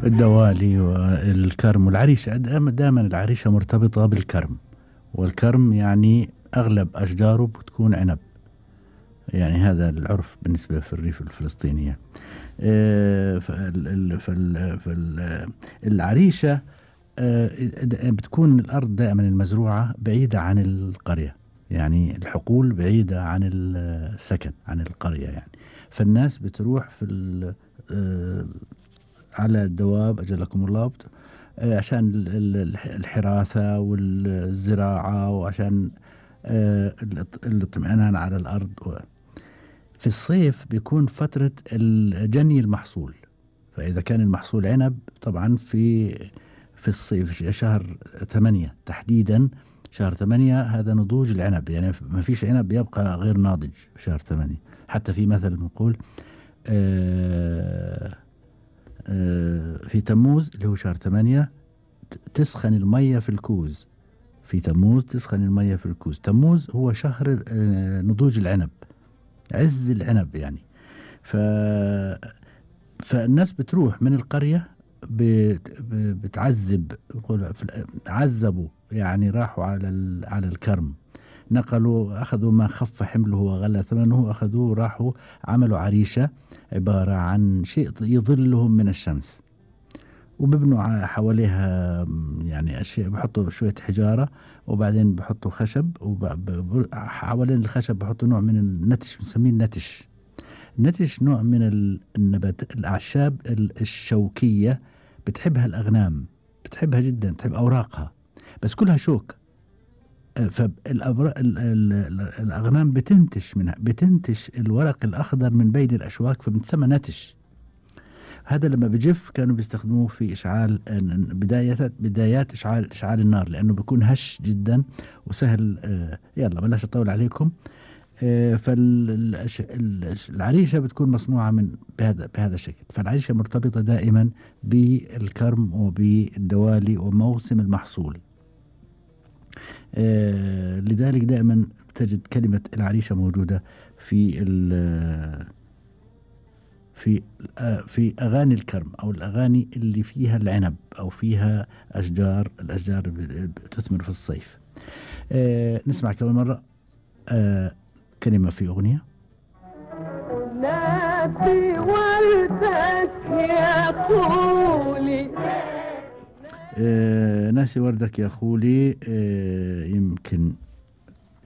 الدوالي والكرم والعريشة. دائما العريشة مرتبطة بالكرم، والكرم يعني أغلب أشجاره بتكون عنب، يعني هذا العرف بالنسبة في الريف الفلسطينية. فالعريشة بتكون الأرض دائما المزروعة بعيدة عن القرية، يعني الحقول بعيدة عن السكن عن القرية يعني. فالناس بتروح في على الدواب أجلكم الله عشان الحراثة والزراعة، وعشان الاطمئنان على الأرض. في الصيف بيكون فترة جني المحصول، فإذا كان المحصول عنب طبعا في الصيف شهر 8 تحديدا، شهر 8 هذا نضوج العنب، يعني ما فيش عنب يبقى غير ناضج في شهر 8. حتى في مثل بنقول في تموز اللي هو شهر 8 تسخن المية في الكوز. في تموز تسخن المية في الكوز. تموز هو شهر نضوج العنب، عز العنب يعني. فالناس بتروح من القرية بتعذب، عذبوا يعني، راحوا على الكرم، نقلوا، أخذوا ما خف حمله وغلى ثمنه، أخذوه راحوا عملوا عريشة عبارة عن شيء يظلهم من الشمس، وببنوا حواليها يعني أشياء، بحطوا شوية حجارة وبعدين بحطوا خشب، وحوالين الخشب بحطوا نوع من النتش بنسميه النتش. النتش نوع من النبات الأعشاب الشوكية، بتحبها الأغنام، بتحبها جدا، بتحب أوراقها بس كلها شوك. فالأغنام بتنتش منها، بتنتش الورق الأخضر من بين الأشواك، فبتسمى نتش. هذا لما بجف كانوا بيستخدموه في إشعال بدايات إشعال النار، لأنه بيكون هش جدا وسهل. يلا بلاش أطول عليكم. فالعريشة بتكون مصنوعة بهذا الشكل. فالعريشة مرتبطة دائما بالكرم وبالدوالي وموسم المحصول. لذلك دائما تجد كلمة العريشة موجودة في أغاني الكرم، أو الأغاني اللي فيها العنب أو فيها الأشجار بتثمر في الصيف. نسمع كمان مرة كلمة في أغنية. ناسي وردك يا خولي، ناسي وردك يا خولي. يمكن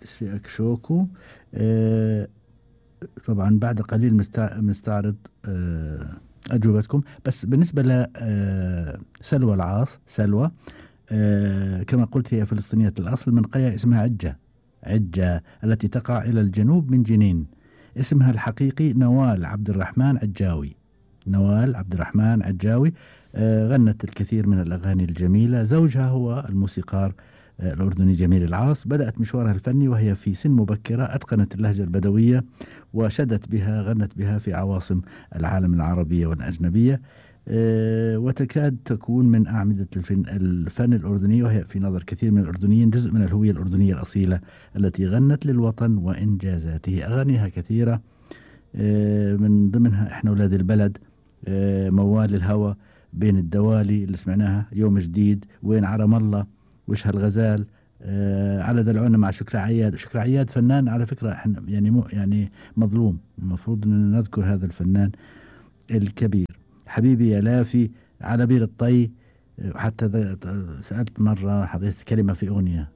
شيئك شوكو. طبعا بعد قليل مستعرض أجوبتكم. بس بالنسبة لسلوى العاص، سلوى كما قلت هي فلسطينية الأصل من قرية اسمها عجة التي تقع إلى الجنوب من جنين. اسمها الحقيقي نوال عبد الرحمن عجاوي. غنت الكثير من الأغاني الجميلة. زوجها هو الموسيقار الأردني جميل العاص. بدأت مشوارها الفني وهي في سن مبكرة، أتقنت اللهجة البدوية غنت بها في عواصم العالم العربية والأجنبية، وتكاد تكون من أعمدة الفن الأردني، وهي في نظر كثير من الأردنيين جزء من الهوية الأردنية الأصيلة التي غنت للوطن وإنجازاته. أغانيها كثيرة، من ضمنها إحنا ولاد البلد، موال الهوى، بين الدوالي اللي سمعناها، يوم جديد، وين عرم الله، وش هالغزال، على دلعونا مع شكري عياد فنان على فكرة احنا يعني مظلوم، المفروض ان نذكر هذا الفنان الكبير. حبيبي يا لافي، على بير الطي. حتى سألت مرة حضرت كلمة في أغنية،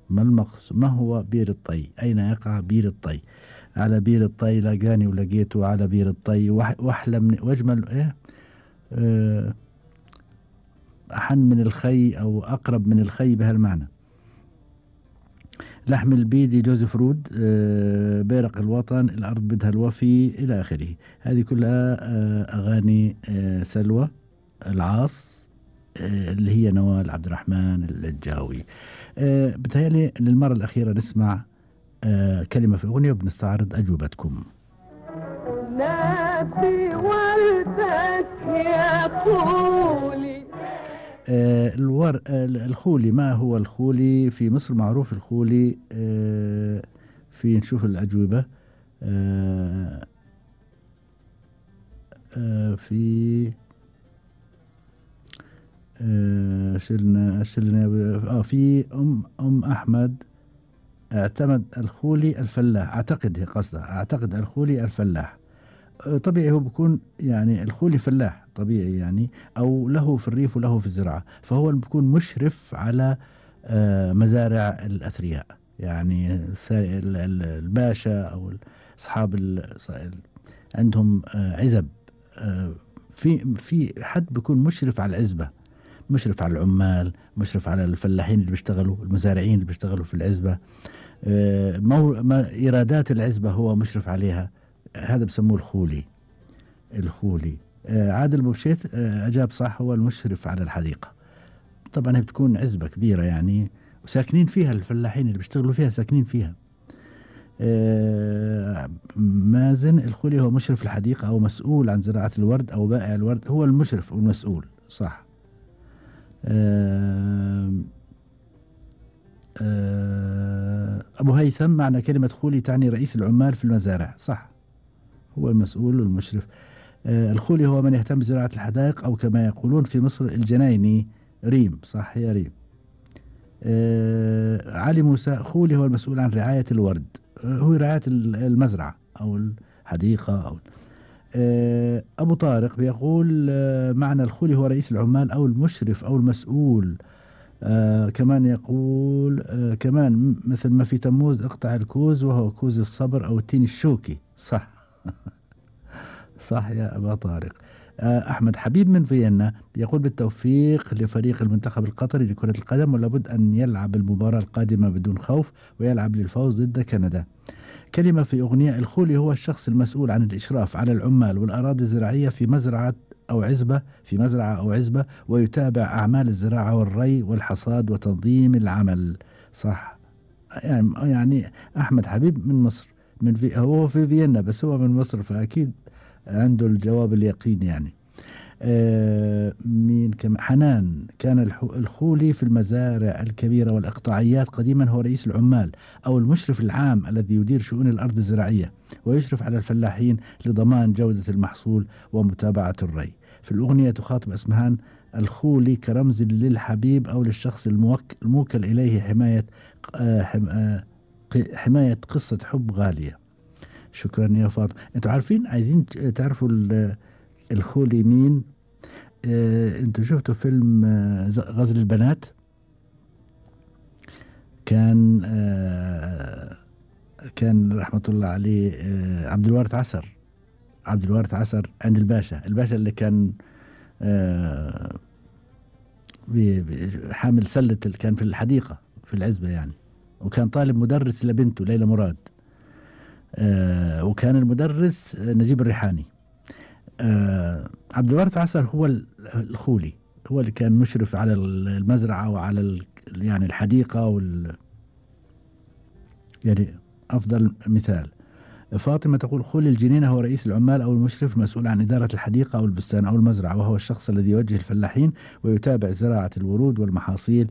ما هو بير الطي؟ أين يقع بير الطي؟ على بير الطي لقاني ولقيته على بير الطي، واحلى واجمل أحن من الخي أو أقرب من الخي بهالمعنى. لحم البيدي جوزيف رود، بيرق الوطن، الأرض بدها الوفي، إلى آخره. هذه كلها أغاني سلوى العاص، اللي هي نوال عبد الرحمن العجاوي. بتهيألي للمرة الأخيرة نسمع كلمة في أغنية وبنستعرض أجوبتكم. ناسي وردك يا خولي. الخولي، ما هو الخولي؟ في مصر معروف الخولي. في نشوف الأجوبة. في شلنا في أم أحمد اعتمد الخولي الفلاح، أعتقد هي قصدها، أعتقد الخولي الفلاح. طبيعي هو بيكون يعني الخولي فلاح طبيعي يعني، أو له في الريف وله في الزراعة، فهو بيكون مشرف على مزارع الأثرياء، يعني الباشا أو أصحاب عندهم عزب، في حد بيكون مشرف على العزبة، مشرف على العمال، مشرف على الفلاحين اللي بيشتغلوا، المزارعين اللي بيشتغلوا في العزبة، إيرادات العزبة هو مشرف عليها، هذا بسموه الخولي. الخولي. عادل بوشيت أجاب صح، هو المشرف على الحديقة. طبعا هي بتكون عزبة كبيرة يعني، وساكنين فيها الفلاحين اللي بيشتغلوا فيها ساكنين فيها. مازن الخولي هو مشرف الحديقة أو مسؤول عن زراعة الورد أو بائع الورد، هو المشرف والمسؤول صح. أبو هيثم معنى كلمة خولي تعني رئيس العمال في المزارع، صح، هو المسؤول والمشرف. الخولي هو من يهتم بزراعة الحدائق أو كما يقولون في مصر الجنايني، ريم، صح يا ريم. علي موسى خولي هو المسؤول عن رعاية الورد، هو رعاية المزرعة أو الحديقة أو أبو طارق بيقول معنى الخولي هو رئيس العمال أو المشرف أو المسؤول. كمان يقول كمان مثل ما في تموز اقطع الكوز وهو كوز الصبر أو التين الشوكي، صح. صح يا أبا طارق. أحمد حبيب من فيينا يقول بالتوفيق لفريق المنتخب القطري لكرة القدم، ولابد أن يلعب المباراة القادمة بدون خوف ويلعب للفوز ضد كندا. كلمة في أغنية. الخولي هو الشخص المسؤول عن الإشراف على العمال والأراضي الزراعية في مزرعة أو عزبة، في مزرعة أو عزبة، ويتابع أعمال الزراعة والري والحصاد وتنظيم العمل، صح. يعني أحمد حبيب من مصر، هو في فيينا بس هو من مصر، فأكيد عنده الجواب اليقين يعني. مين كم حنان. كان الخولي في المزارع الكبيرة والإقطاعيات قديما هو رئيس العمال أو المشرف العام الذي يدير شؤون الأرض الزراعية ويشرف على الفلاحين لضمان جودة المحصول ومتابعة الري. في الأغنية تخاطب أسمهان الخولي كرمز للحبيب أو للشخص الموكل إليه حماية قصة حب غالية. شكرا يا فاطمة. انتوا عارفين، عايزين تعرفوا الخولي مين؟ انتوا شفتوا فيلم غزل البنات؟ كان رحمة الله عليه عبد الوارث عسر عند الباشا اللي كان حامل سلة، كان في الحديقة في العزبة يعني، وكان طالب مدرس لبنته ليلى مراد، وكان المدرس نجيب الريحاني. عبد الوارث عسر هو الخولي، هو اللي كان مشرف على المزرعة وعلى يعني الحديقة يعني أفضل مثال. فاطمة تقول خولي الجنينة هو رئيس العمال أو المشرف المسؤول عن إدارة الحديقة أو البستان أو المزرعة، وهو الشخص الذي يوجه الفلاحين ويتابع زراعة الورود والمحاصيل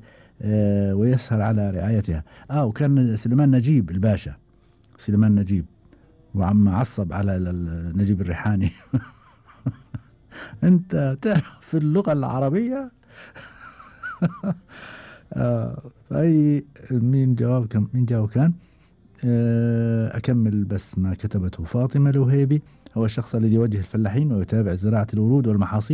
ويسهر على رعايتها. وكان سليمان نجيب الباشا، سليمان نجيب، وعم عصب على نجيب الريحاني. انت تعرف في اللغة العربية. أي مين جاوب كان أكمل بس ما كتبته فاطمة الوهيبي. هو الشخص الذي يوجه الفلاحين ويتابع زراعة الورود والمحاصيل